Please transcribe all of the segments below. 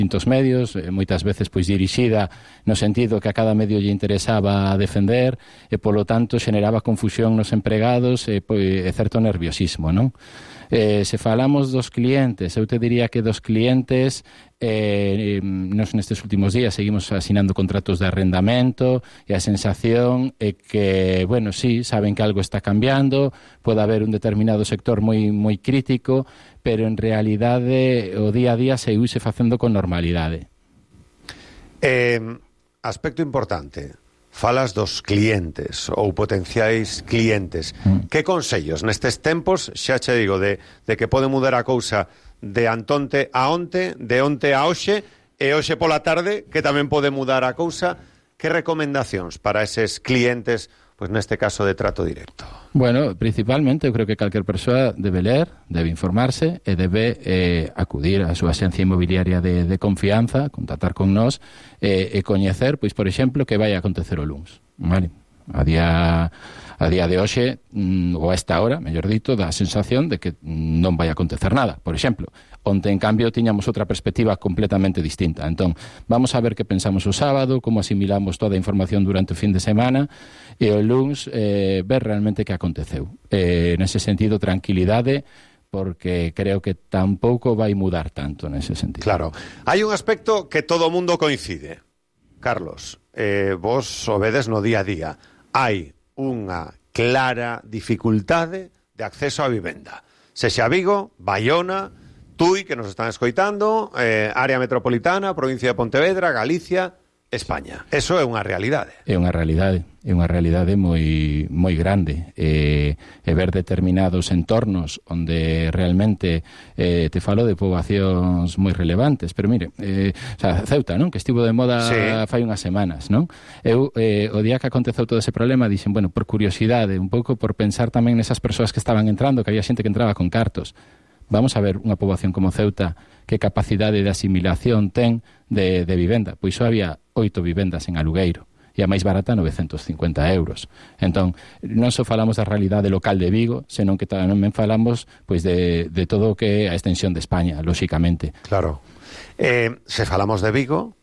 distintos medios, moitas veces pois dirixida no sentido que a cada medio lle interesaba defender e polo tanto xeneraba confusión nos empregados e certo nerviosismo, non? Se falamos dos clientes, eu te diría que dos clientes nos nestes últimos días seguimos asinando contratos de arrendamento e a sensación é que, bueno, sí, saben que algo está cambiando, pode haber un determinado sector moi crítico, pero en realidade o día a día seguise facendo con normalidade. Aspecto importante. Falas dos clientes ou potenciais clientes. Que consellos nestes tempos, xa che digo, de que pode mudar a cousa de antonte a onte, de onte a hoxe, e hoxe pola tarde, que tamén pode mudar a cousa. Que recomendacións para eses clientes, pois neste caso de trato directo? Bueno, principalmente eu creo que calquer persoa debe ler, debe informarse e debe acudir á súa axencia inmobiliaria de confianza, contactar con nós e coñecer, pois, por exemplo, que vai acontecer o luns. Vale? A día de hoxe, ou a esta hora, mellor dito, dá a sensación de que non vai acontecer nada. Por exemplo, onte, en cambio, tiñamos outra perspectiva completamente distinta. Entón, vamos a ver que pensamos o sábado, como asimilamos toda a información durante o fin de semana, e o luns ver realmente que aconteceu. Nese sentido, tranquilidade, porque creo que tampouco vai mudar tanto nese sentido. Claro. Hai un aspecto que todo o mundo coincide. Carlos, vos o vedes no día a día. Hai unha clara dificultade de acceso á vivenda. Sexa Vigo, Baiona, Tui, que nos están escoitando, área metropolitana, provincia de Pontevedra, Galicia, España. Eso é unha realidade. É unha realidade moi grande. E ver determinados entornos onde realmente te falo de poboacións moi relevantes. Pero mire, Ceuta, non? Que estivo de moda fai unhas semanas, non? Eu, o día que aconteceu todo ese problema, dixen, bueno, por curiosidade, un pouco por pensar tamén nesas persoas que estaban entrando, que había xente que entraba con cartos. Vamos a ver unha poboación como Ceuta, que capacidade de asimilación ten de vivenda. Pois só había 8 vivendas en alugueiro, e a máis barata 950 euros. Entón, non só falamos da realidade local de Vigo, senón que tamén falamos pois de todo o que é a extensión de España, lóxicamente. Claro. Se falamos de Vigo,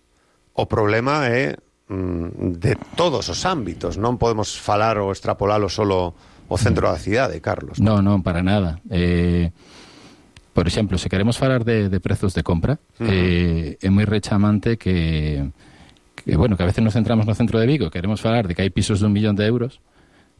o problema é de todos os ámbitos. Non podemos falar ou extrapolalo solo o centro da cidade, Carlos. Non, para nada. Por exemplo, se queremos falar de prezos de compra, é moi rechamante que a veces nos centramos no centro de Vigo, queremos falar de que hai pisos de 1 millón de euros,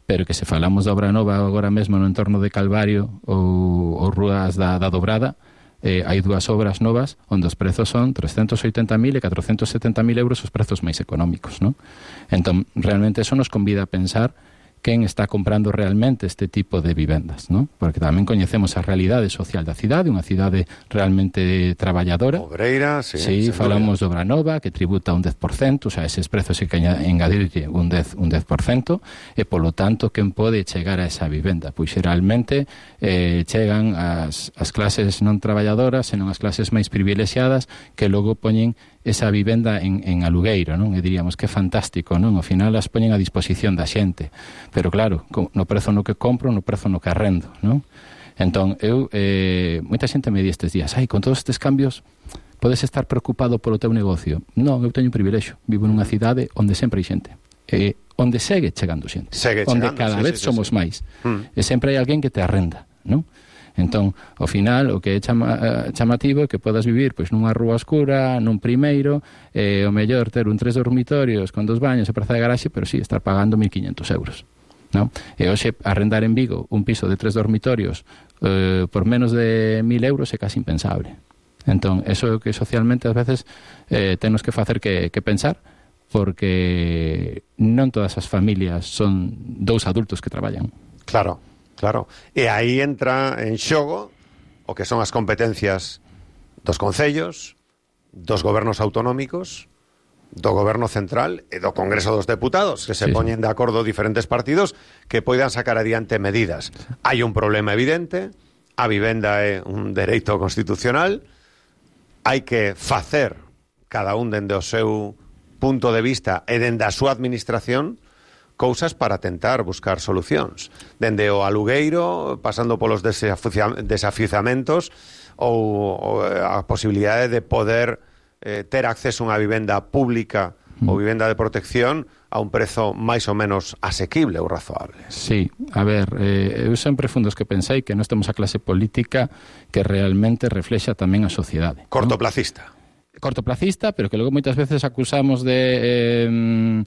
pero que se falamos da obra nova agora mesmo no entorno de Calvario ou Rúas da Dobrada, hai 2 obras novas onde os prezos son 380.000 e 470.000 euros os prezos máis económicos, non? Entón, realmente eso nos convida a pensar quen está comprando realmente este tipo de vivendas, ¿no? Porque tamén coñecemos a realidade social da cidade, unha cidade realmente traballadora. Obreira, sí, falamos de obra nova, que tributa un 10%, o sea, eses prezos hai que engadirlle un 10%, e polo tanto, quen pode chegar a esa vivenda? Pois xeralmente chegan as clases non traballadoras, senón as clases máis privilexiadas, que logo poñen esa vivenda en alugueiro, non? E diríamos que é fantástico, non? Ao final as poñen a disposición da xente, pero claro, no prezo no que compro, no prezo no que arrendo, non? Entón, moita xente me di estes días, con todos estes cambios podes estar preocupado polo teu negocio. Non, eu teño un privilexio, vivo nunha cidade onde sempre hai xente, onde segue chegando xente, onde cada vez somos máis, e sempre hai alguén que te arrenda, non? Entón, ao final, o que é chamativo é que podas vivir pois nunha rúa oscura, nun primeiro, o mellor ter un 3 dormitorios con 2 baños e praza de garaxe, pero sí, estar pagando 1.500 euros, non? E hoxe, arrendar en Vigo un piso de 3 dormitorios por menos de 1.000 euros é casi impensable. Entón, eso é o que socialmente ás veces temos que facer que pensar, porque non todas as familias son 2 adultos que traballan. Claro. E aí entra en xogo o que son as competencias dos concellos, dos gobernos autonómicos, do goberno central e do Congreso dos Deputados, que se poñen de acordo diferentes partidos que poidan sacar adiante medidas. Hai un problema evidente, a vivenda é un dereito constitucional, hai que facer cada un dende o seu punto de vista e dende a súa administración cousas para tentar buscar solucións. Dende o alugueiro, pasando polos desafiuzamentos ou a posibilidade de poder ter acceso a unha vivenda pública ou vivenda de protección a un prezo máis ou menos asequible ou razoable. Sí, a ver, eu sempre fun dos que pensei que nós temos a clase política que realmente reflexa tamén a sociedade. Cortoplacista. Cortoplacista, pero que logo moitas veces acusamos de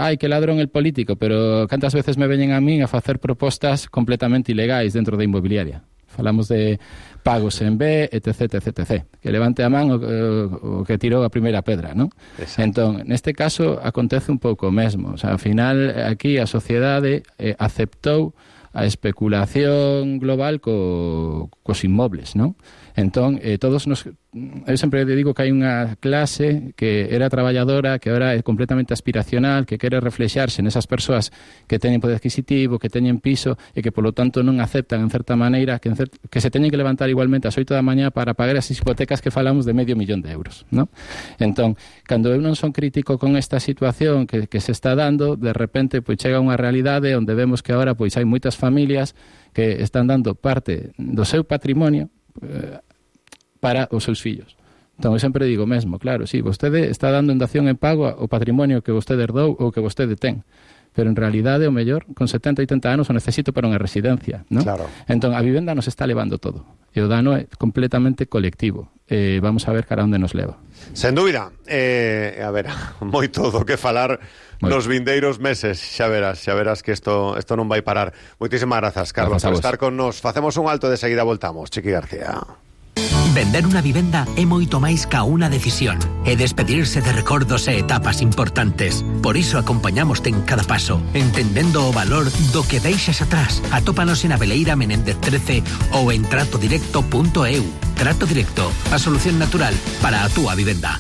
ai, que ladrón el político, pero cantas veces me veñen a min a facer propostas completamente ilegais dentro da inmobiliaria. Falamos de pagos en B, etc, etc, etc. Que levante a man o que tirou a primeira pedra, non? Entón, neste caso, acontece un pouco o mesmo. O sea, ao final, aquí a sociedade aceptou a especulación global cos inmobles, non? Entón, todos eu sempre digo que hai unha clase que era traballadora, que agora é completamente aspiracional, que quere reflexarse nesas persoas que teñen poder adquisitivo, que teñen piso e que, polo tanto, non aceptan, en certa maneira, que se teñen que levantar igualmente ás 8 da mañá para pagar as hipotecas que falamos de €500,000, non? Entón, cando eu non son crítico con esta situación que se está dando, de repente, pois chega unha realidade onde vemos que agora pois hai moitas familias que están dando parte do seu patrimonio para os seus fillos. Entón, eu sempre digo mesmo, claro, sí, vostede está dando en dación en pago o patrimonio que vostede herdou ou que vostede ten, pero en realidade o mellor, con 70, 80 anos o necesito para unha residencia, non? Claro. Entón, a vivenda nos está levando todo, e o dano é completamente colectivo. Vamos a ver cara onde nos leva. Sen dúbida, a ver, moito do que falar nos vindeiros meses, xa verás que isto non vai parar. Moitísimas grazas, Carlos, por estar con nos. Facemos un alto e de seguida voltamos. Chiqui García. Vender unha vivenda é moito máis ca unha decisión. É despedirse de recordos e etapas importantes. Por iso acompañamoste en cada paso, entendendo o valor do que deixas atrás. Atópanos en Abeleira Menéndez 13 ou en tratodirecto.eu. Trato Directo, a solución natural para a túa vivenda.